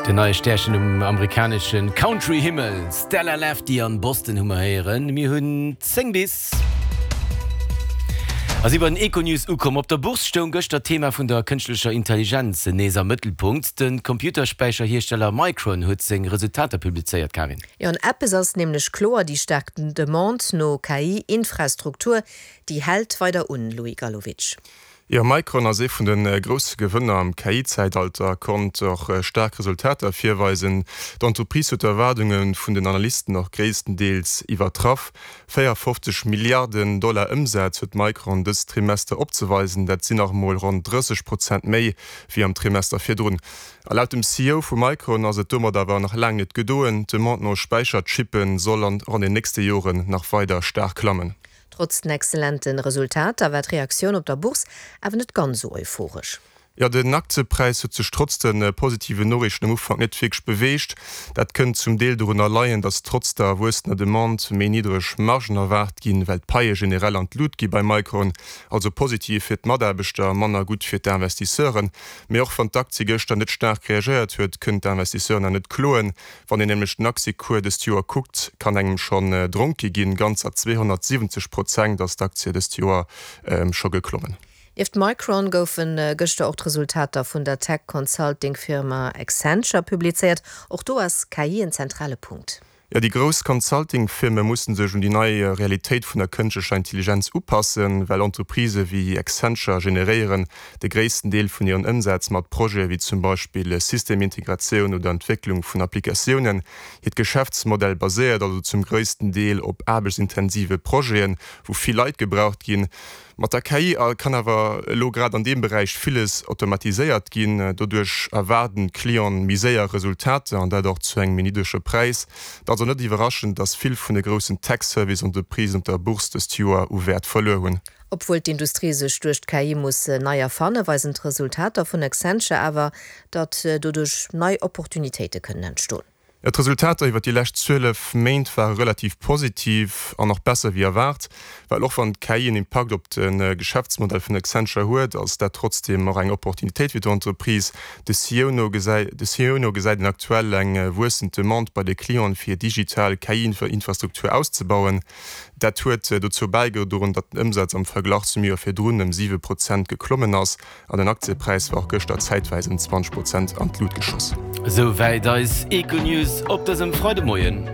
Den neie Stärchen um amerikanesche Country-Himmel, Stella Lefty an Boston hu mer héieren. Mir hunn 10 bis a si bei den Econews ukomm. Op der Bourse stoung gëschter d'Thema vun der kënschtlecher Intelligenz nees am Mëttelpunkt. De Computerspäicherhiersteller Micron huet seng Resultater publizéiert, Karin. Jo, an eppes ass nämlech kloer, déi staark Demande no KI-Infrastruktur, déi hält weider un, Louis Gallowitsch. Jo, Micron ass ee vun de grousse Gewënner am KI-Zäitalter, konnt och staark Resultater virweisen. D'Entreprise huet d'Erwaardunge vun den Analysten och gréisstendeels iwwertraff. 54 Milliarden Dollar Ëmsaz huet Micron dëst Trimester opzeweisen, dat sinn nach emol ronn 30 Prozent méi wéi am Trimester virdrun. A laut dem CEO vu Micron ass et domat awer nach laang net gedoen. D'Demande no Späicherchippe soll an den nächste Joren nach weider staark klammen. Trotz den exzellente Resultater war d'Reaktioun op der Bourse awer net ganz esou euphoresch. Jo, den Aktiepräis huet sech trotz de positiven Noriichten am Ufank net wierklech beweegt. Dat kënnt zum Deel dorunner leien, datt trotz der wuessender Demande méi niddreg Margen erwaart ginn, well d'Paie generell an d'Lut gi bei Micron. Also positiv fir d'Mataarbechter, manner gutt fir d'Investisseuren. Mee och wann d'Aktie gëschter net staark reagéiert huet, kënnen d'Investisseuren nach net kloen. Wann een nämlech den Aktiecours dëst Joer kuckt, kann engem schonn dronke ginn. Ganzer 270 Prozent ass d'Aktie dëst Joer scho geklommen. Nieft Micron goufe gëschter och d'Resultater vun der Tech-Consulting-Firma Accenture publizéiert. Och do ass KI en zentrale Punkt. Jo, déi grouss Consulting-Firme musse sech un déi nei Realitéit vun der kënschtlecher Intelligenz upassen, well Entreprisë wéi Accenture generéieren de gréissten Deel vun hiren Ëmsätz mat Projete wéi zum Beispill Systemintegratioun oder Entwécklung vun Applikatiounen. Hiert Geschäftsmodell baséiert also zum gréissten Deel op aarbechtsintensive Projeten, wou vill Leit gebraucht ginn. Mat der KI kann awer elo grad an deem Beräich villes automatiséiert ginn. Doduerch erwaarden d'Clienten méi séier Resultater an dat och zu engem méi niddrege Präis. Et ass also net iwwerraschend, dass vill vun de groussen Tech-Service-Entreprisen op der Bourse dëst Joer u Wäert verluer hunn. Obwuel d'Industrie sech duerch d'KI muss nei erfannen, weisen d'Resultater vun Accenture awer, datt doduerch nei Opportunitéite kënnen entstoen. Jo, d'Resultater iwwer déi lescht 12 Méint ware relativ positiv an och besser wéi erwaart. Well och wann d'KI en Impakt op de Geschäftsmodell vun Accenture huet, ass dat trotzdeem och eng Opportunitéit fir d'Entreprise. De CEO no gesäit een aktuell eng wuessend Demande bei de Clienten, fir digital KI-Infrastruktur auszebauen. Dat huet dozou bäigedroen, datt den Ëmsaz am Verglach zum Joer virdrun ëm 7 Prozent geklommen ass an den Aktiepräis war och gëschter zäitwäis ëm 20 Prozent an d'Lut geschoss. Esou wäit eis Econews op dësem Freidemoien.